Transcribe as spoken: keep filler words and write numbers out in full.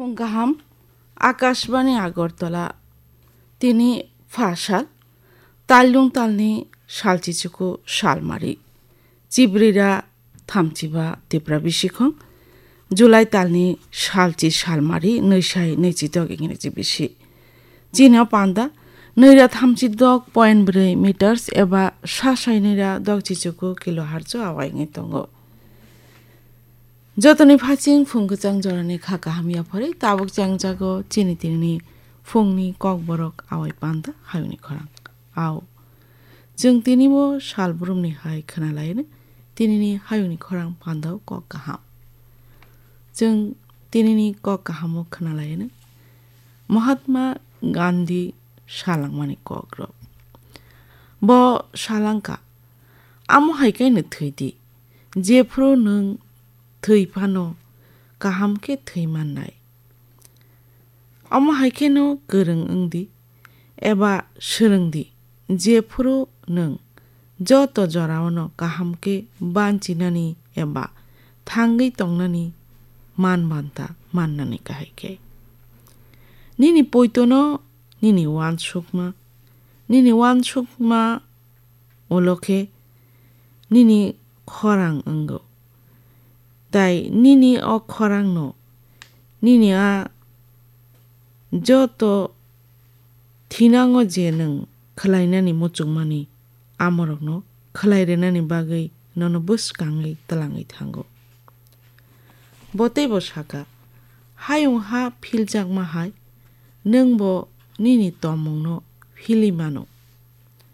Phung kaham, Akashbani Agartala, tini pha sal, Tailung talni salchichuku salmari, Chibrira thamchiba Tipra bisikhong, July talni salchi salmari, nwisai nwichidok ingreji bisi. Chini o panda, nwira thamchidok point bwrwi meters eba sasai nwira dok chichuku kilohertz o awai wngwi tongo. Jotoni phaching phung kwchang jorani kha kaham yapharwi tabuk chang jago chini tinini phungni kokborok awai panda hayungni khorang. Au, chwng tini bo sal brumni hai khwnalaino tinini hayungni khorang pandao kok kaham. Chwng tinini kok kahamo khwnalaino Mahatma Gandhi salangmani kokrok. Bo salangka, amo hai khe no thwi di, jephru nwng thwi phano kaham khe thwi mannai. Omo hai kheno kwrwng wng di, eba swrwng di, jephru nwng joto jorao no kaham khe banchinani eba thangwi tongnani man banta mannani kahai khe. Nini poitono nini uansukma, nini uansukma ulo khe nini khorang wngo. Tai nini o khorangno, nini a joto thinango je nwng khwlainani muchungmani amorokno khwlai rwnani bagwi nono bwskangwi twlangwi thango. Bo teibo saka, "Hayung ha philjakma hai, nwng bo nini tongmungno philwi mano."